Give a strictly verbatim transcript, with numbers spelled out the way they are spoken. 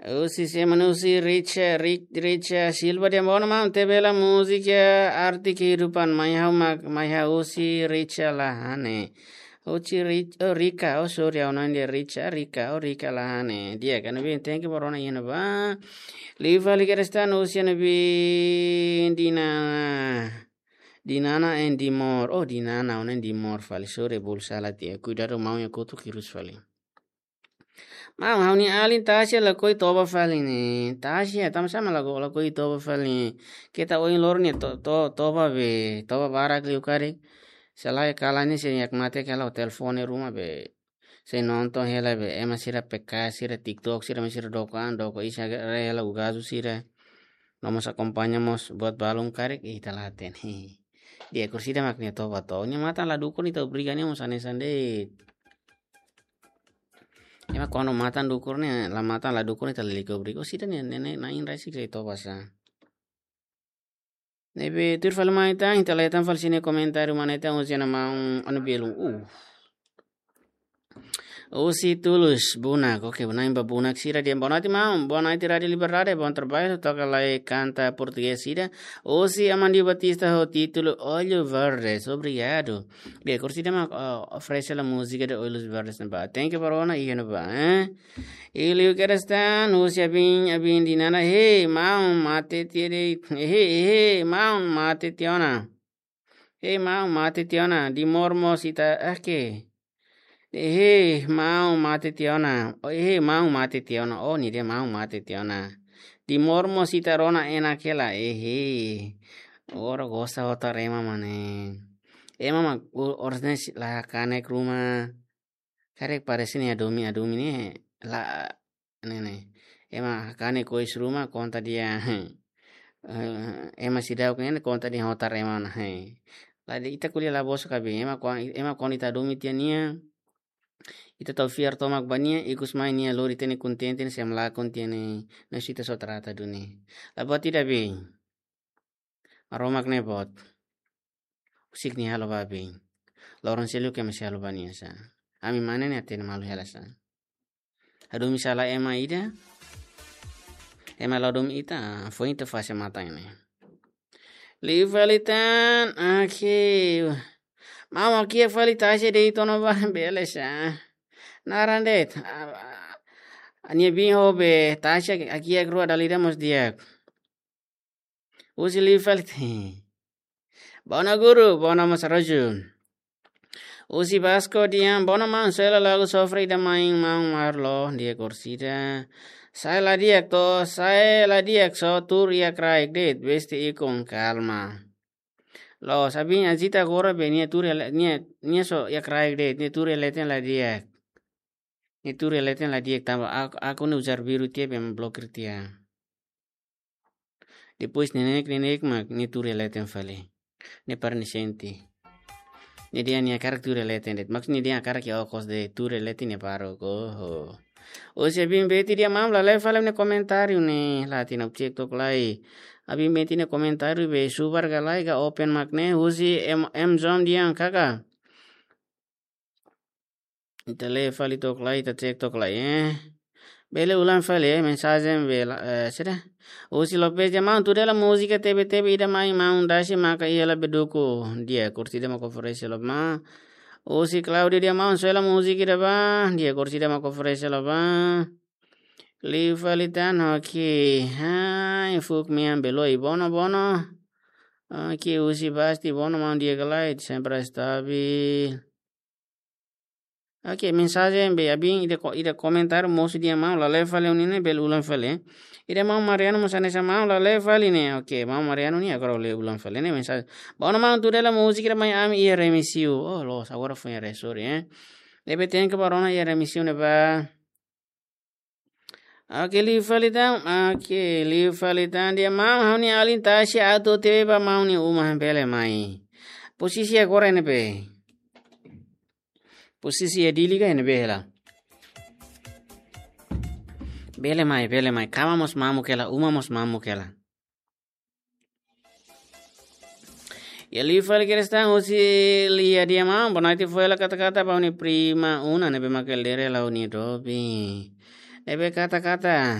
Husi sé mak ne'e? Husi Richa, Ri-, Richa Silva dehan: Bona maun, tebe hela múzika Arte Kehidupan, mai ha'u mak, mai ha'u husi Richa Lahane. Husi Ri-, oh, Rika, oh, sorry, ha'u-nia naran dehan Richa, Rika, oh, Rika Lahane. Di'ak, ne'ebé, thank you ba rona iha ne'ebá. Liu fali kedas tan husi ne'ebé, Dinana. Dinana and Dimor. Oh, Dinana, oh, ne'e Dimor fali. Sorry, bolu sala tiha. Kuidadu maun iha kotuk hirus fali. Maun, ha'u-nia alin Tasia lakohi toba fali ne'e. Tasia, tanbasá mak lako-, lakohi toba fali ne'e? Keta ohin loron ne'e to-, to-, toba be, toba barak liu karik. Se lae kalan ne'e, se nia mate kala hotel fone ruma be. Se nonton hela be, ema sira P K, sira TikTok, sira mai sira doko an, doko isa re hela ugazu sira. No mós akompaña mós buat balun karik, ita la hatene. Di'ak, orsida mak nia toba to. Nia matan la dukur ne'e ita obriga nia mós hanesan de'it. Ema kuandu matan dukur ne'e, la matan la dukur ne'e ita lalika obriga. Orsida nia, ne'e, ne'e, na'in-rasik sei toba sá. Ne'ebé tuir fali mai tan, ita leten fali sira-nia komentáriu mana ita usia na maun anu belum. Uh. Husi Tulus Bunak, oke, Bunak ba Bunak sira dehan: Boa noite, maun. Boa noite, Rádio Liberdade. Bom trabalho. Toka lai kanta portugés sira. Husi Amandio Batista ho títulu Olhos Verdes. Obrigadu. Di'ak, orsida mak, oh, oferese hela múzika de Olhos Verdes ne'ebá. Thank you ba rona iha ne'ebá, eh? I liu kedas tan husi Abin, Abin Dinana: Hei, maun, mate tiha de'it. Hei, hei, maun, mate tiha ona. Hei, maun, mate tiha ona. Dimor mós ita, ah, ke? Hei, maun, mate tiha ona. Oh, hei, maun, mate tiha ona. Oh, nia dehan maun, mate tiha ona. Dimor mós ita rona enak hela. Hei. Ora gosta hotar ema mak ne'e. Ema mak u-, oras ne'e sei la kanek ruma. Karik parese nia adumi, adumi ne'e la, ne'e, ne'e. Ema kanek kois ruma konta dehan, eh, ema seidauk ne'e konta dehan hotar ema ona, eh. La dehan ita ko'alia la bosok Abin, ema kuan-, ema kuandu ita adumi tiha nia, ita tau fiar tomak ba nia, ikus mai nia lori ita-nia kontente ne'e sei ema lakon tiha ne'e, ne'e sei ita só trata duni. La buat ida Abin. Maromak ne'e boot. Husik nia halo ba Abin. Loron seluk ema sei halo ba nia sá. Ami mane ne'e hatene malu hela sá. Adumi sala ema ida. Ema la adumi ita, ah, foin ita fase matan ne'e. Liu fali tan, oke. Maun, kiak fali Tasia de'it ona ba, bele sá. Naran de'it. Ah, ah, nia bin ho be Tasia, ah, kiak rua dala ida mós di'ak. Husi liu fali tan. Bona guru, bona mós Roju. Husi Basko dehan: Bona maun, soe hela lagu Sofre ida mai maun Marlo, di'ak orsida. Sa'e la di'ak to, sa'e la di'ak só tuur iha kraik de'it, besti ikun kalma. Loos, Abin agita agora be nia tuur iha le-, nia, nia só iha kraik de'it, nia tuur iha leten la di'ak. Nia tuur iha leten la di'ak tanba ak-, akun ne'e ujar biru tiha be ema blokir tiha. Depois neineik, neineik mak nia tuur iha leten fali. Nia para nia sente. Nia dehan nia hakarak tuur iha leten de'it. Maksud nia dehan hakarak iha okos de'it, tuur iha leten nia para ko. Ho. Husi Abin Beti dehan: Maun, la lee fali nia komentáriu ne'e, la hatene, cek took lai. Abin Beti nia komentáriu be subar ka lae ka open mak ne'e. Husi M-, M Zone dehan: Kaka. Ita lee fali took lai, ita cek took lai, eh. Bele ulang fali, eh, mensajen bele, eh, sira. Husi Lopez dehan: Maun, tuur hela múzika tebe-tebe ida mai maun Dasi maka iha la beduku. Di'ak, orsida mak oferese hela ba. Husi Claudio dehan: Maun, soe hela múzika ida ba. Di'ak, orsida mak oferese hela ba. Liu fali tan, oke. Hai, fuuk mean beloi, bona, bona. Oke, husi Basti, bona maun, di'ak ka lae, sempre stabil. Oke, mensajen be Abin ida ko-, ida komentáriu mosu dehan: Maun, la lee fali ne'e, bele ulang fali. Ida maun Mariano mós hanesan: Maun, la lee fali ne'e. Oke, maun Mariano ne'e agora lee ulang fali ne'e mensajen. Bona maun, tuur hela múzika ida mai ami iha remisiu. Oh, loos, agora foin haree, sorry, eh. Ne'ebé thank you ba rona iha remisiu ne'ebá. Oke, liu fali tan. Oke, liu fali tan dehan: Maun, ha'u-nia alin Tasia atu tebe ba maun nia uma, bele mai. Posisi agora ne'ebé? Posisi iha Dili ka ne'ebé hela? Bele mai, bele mai. Kama mós mamuk hela, uma mós mamuk hela. Iha liu fali kedas tan husi Lia dehan: Maun, boa noite, fó hela kata-kata ba ha'u-nia prima Una ne'ebé mak lere hela ha'u-nia doben. Ne'ebé kata-kata.